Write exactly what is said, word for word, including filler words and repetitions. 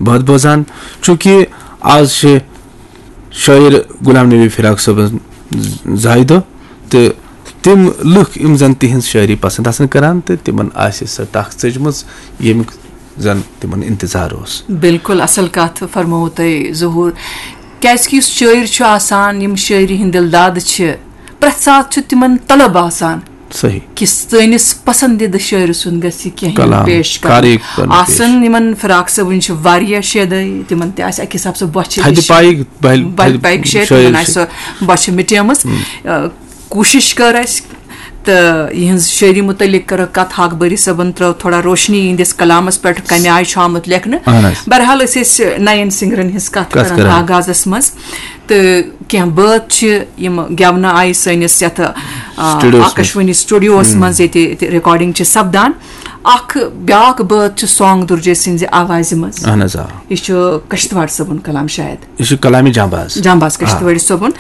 بٲتھ بوزان، چونکہ آز چھِ شٲعر غلام نبی فراق صٲبن زایہِ دۄہ، تہٕ تِم لُکھ یِم زن تِہنٛز شٲعری پسند آسن کران تہٕ تِمن آسہِ سۄ تخ ژٔجمٕژ، ییٚمیُک زن تِمن انتظار اوس۔ بالکل اصل کتھ فرمٲوو تۄہہِ ظہور، کیازِ کہِ یُس شٲعر چھُ آسان، یِم شٲعری ہٕنٛدۍ دِل داد چھِ، پرٛٮ۪تھ ساتہٕ چھُ تِمن طلب آسان صحیح۔ کہِ سٲنِس پسندیدٕ شٲعرٕ سُنٛد گژھِ کینٛہہ کلام، پیش کرُن۔ کاری کرُن پیش۔ آسن یِمن فراق صٲبٕنۍ چھِ واریاہ شیدٲے، تِمن تہِ آسہِ اکہِ حساب سُہ بۄچھِ تھدِ نِش پایِک بہل-، بلہِ پایِک شیدٲے، شٲعر تِمن آسہِ چھِ۔ سۄ بۄچھِ مٹیمٕژ۔ آ، کوٗشِش کٔر اَسہِ تہٕ یِہٕنٛز شٲعری مُتعلق کٔرٕکھ کَتھ، ہاک بٲری صٲبن ترٲو تھوڑا روشنی یِہنٛدِس کلامس پٮ۪ٹھ، کمہِ آیہِ چھُ آمُت لیکھنہٕ۔ اہن حظ۔ بہرحال، أسۍ ٲسۍ نَین سِنگرن ہٕنٛز کَتھ کَتھ کران کران۔ آغازس منٛز، تہٕ کینٛہہ بٲتھ چھِ یِم گٮ۪ونہٕ آیہِ سٲنِس یَتھ، آ، سٹوڈیوَس منٛز۔ آکاشوانی سٹوڈیوَس منٛز، ییٚتہِ، ییٚتہِ ریکارڈنگ چھِ سپدان۔ اکھ بیاکھ بٲتھ چھُ سانگ درجے سٕنٛزِ آوازِ منٛز۔ اہن حظ، آ۔ یہِ چھُ کشتواڑ صٲبُن کلام شاید۔ یہِ چھُ کلامِ جانباز۔ جانباز کشتوٲڑی صٲبُن۔